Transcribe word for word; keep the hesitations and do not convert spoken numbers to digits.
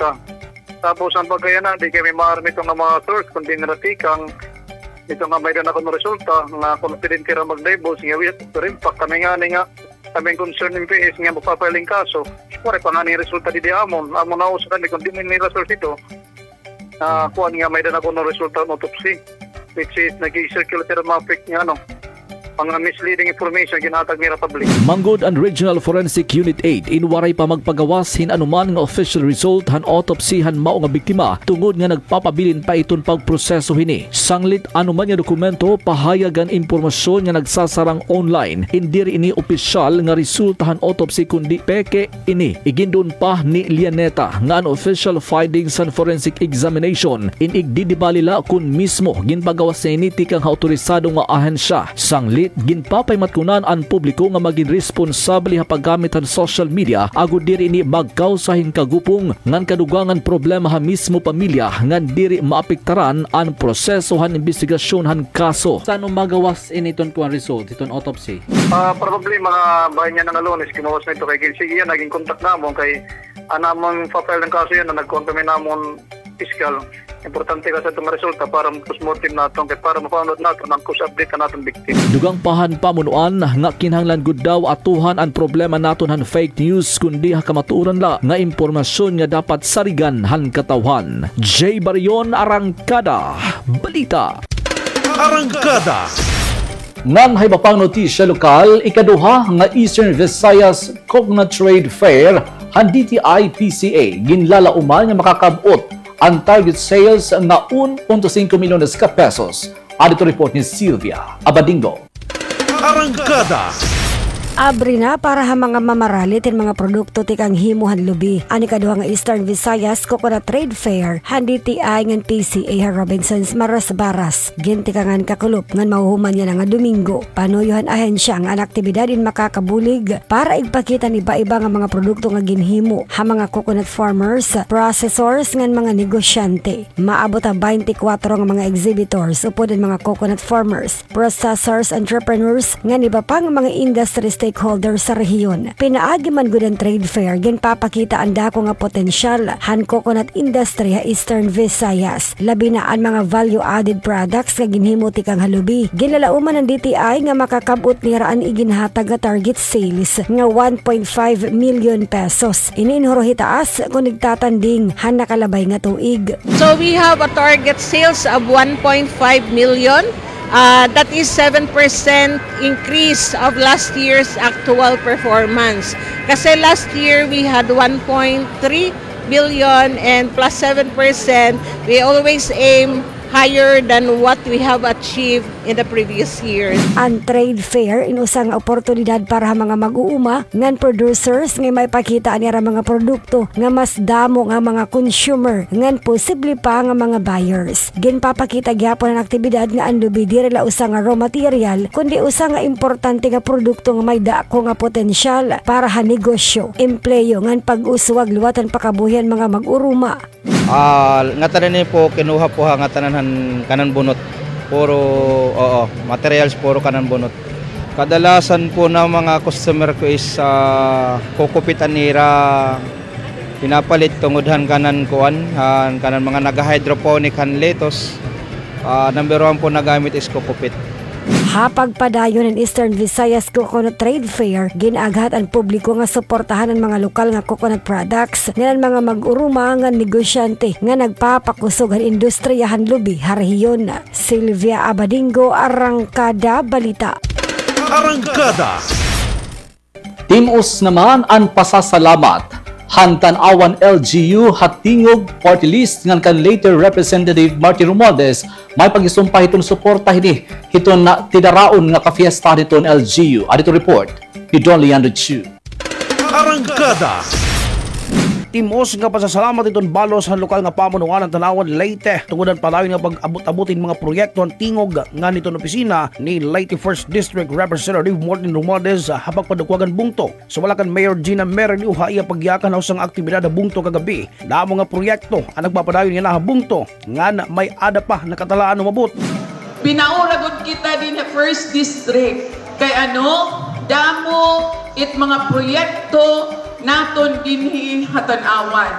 resulta. Tapos an pagkayana, di kami maaram iton nga mga source, kun diin hira tikang, iton nga may-ada na kuno resulta, nga confident hira mag-divulge, nga wi-, pero in fact, kami ngani nga, kami nga concerned M P S nga magpa-file hin kaso, waray pa ngani resulta didi ha amon, amon nausa kami kun diin nira source ito. Ah, kuan nga may-ada na kuno resulta han autopsy, which is nag-circulate hira mga fake nga ano, mga misleading information ginhatag nira public. Manggod an Regional Forensic Unit eight in waray pa magpagawas hin anuman nga official result han autopsy han mao nga biktima, tungod nga nagpapabilin pa iton pagproseso hini. Sanglit anuman nga dokumento, pahayag ngan impormasyon nga nagsasarang online, in diri ini opisyal nga resulta han autopsy kundi peke ini. Iginduon pa ni Lianeta nga an official findings han forensic examination in igdidibali la kun mismo ginpagawas niya ini tikang ha awtorisado nga ahensya. Sanglit, ginpapaimatkunan an publiko nga magin responsable ha paggamit han social media agod diri ini magkawsa hin kagupong ngan kadugangan problema ha mismo pamilya ngan diri maapektaran an proseso han imbestigasyon han kaso. San-o magawas ini iton kuan result, iton autopsy? Ah, probably mga bahin niyan nga Lunes, kimawas na ito kay sige yan, naging contact namon kay an amon pa-file hin kaso yana, nagkuan kami han amon piskal. Importante kasi iton resulta para postmortem naton kay para ma-found out naton an cause of death han aton victim. Dugang pa han pamunuan nga kinahanglan gud daw atuhan an problema naton han fake news kundi ha kamatuoran la nga impormasyon nga dapat sarigan han katawhan. Jay Barion, Arangkada Balita. Arangkada. Ngan ha iba pang notisya lokal, ikaduha nga Eastern Visayas Coconut Trade Fair han D T I P C A ginlalauman nga makakab-ot an target sales nga un punto singko milyones ka pesos. Adto report ni Sylvia Abadingo. Arangkada. Abri na para ha mga mamaralit hin mga produkto tikang himo han lubi an ikaduha nga Eastern Visayas Coconut Trade Fair han D T I ngan P C A ha Robinsons Marasbaras. Gintikangan kakulop ngan mahuhuman yana nga Domingo. Panuyo han ahensya nga an aktibidad in makakabulig para igpakita an iba-iba nga mga produkto nga ginhimo ha mga coconut farmers, processors ngan mga negosyante. Maabot ha baynte kwatro nga mga exhibitors upod an mga coconut farmers, processors, entrepreneurs ngan iba pa nga mga industry stakeholders sa rehiyon. Pinaagi man gud an trade fair, ginpapakita an dako nga potensyal han coconut industry ha Eastern Visayas. Labi na an mga value-added products nga ginhimo tikang ha lubi. Ginlalauman han D T I nga makakab-ot nira an iginhatag nga target sales nga one point five million pesos. Ini in huro hitaas kon igtatanding han nakalabay nga tuig. So we have a target sales of one point five million. Uh, that is seven percent increase of last year's actual performance. Kasi last year we had one point three billion and plus seven percent. We always aim higher than what we have achieved in the previous years. An trade fair in usa nga oportunidad para ha mga mag-uuma ngan producers nga maipakita an ira mga produkto nga mas damo nga mga consumer ngan posible pa nga mga buyers. Ginpapakita gihapon an aktibidad nga an lubi diri la usa nga raw material, kundi usa nga importante nga produkto nga may dako nga potensyal para ha negosyo, empleyo ngan pag-uswag liwat han pakabuhi han mga mag-uruma. Ah, ngatanan ini po, kinuha po ha ngatanan han kanan bunot. Puro, oo, materials puro kanan bunot. Kadalasan po na mga customer ko is, ah, kukupit an ira pinapalit tungod han kanan kuan, han kanan mga naga-hydroponic han lettuce. Ah, number one po nagamit is kukupit. Ha pagpadayon han Eastern Visayas Coconut Trade Fair, gin-aaghat an publiko nga suportahan an mga lokal nga coconut products ngan an mga mag-uruma ngan negosyante nga nagpapakusog han industriya han lubi ha rehiyon. Sylvia Abadingo, Arangkada Balita. Arangkada. Tim-os naman an pasasalamat han Tanauan L G U ha tingog party list ngan kan Leyte Representative Martin Romualdez may paghisumpay hiton suporta hini hiton na tidaraon nga kapiesta hiton L G U. Adto report ni Don Leandro Chu. Arangkada. Tim-os nga pasasalamat hiton balos han lokal nga pamunuan han Tanauan Leyte tungod han padayon nga pag-abot-abot hin mga proyekto han tingog ngan hiton opisina ni Leyte First District Representative Martin Romualdez ha pagpadukwagan bungto. Sumala kan Mayor Gina Merridew ha iya pagyakan ha usa nga aktibidad ha bungto kagab-i, damo nga proyekto an nagpapadayon yana ha bungto ngan may-ada pa nakatalaan umabot. Pinaura gud kita dinhi ha First District kay ano, damo it mga proyekto naton dinhi ha Tanauan.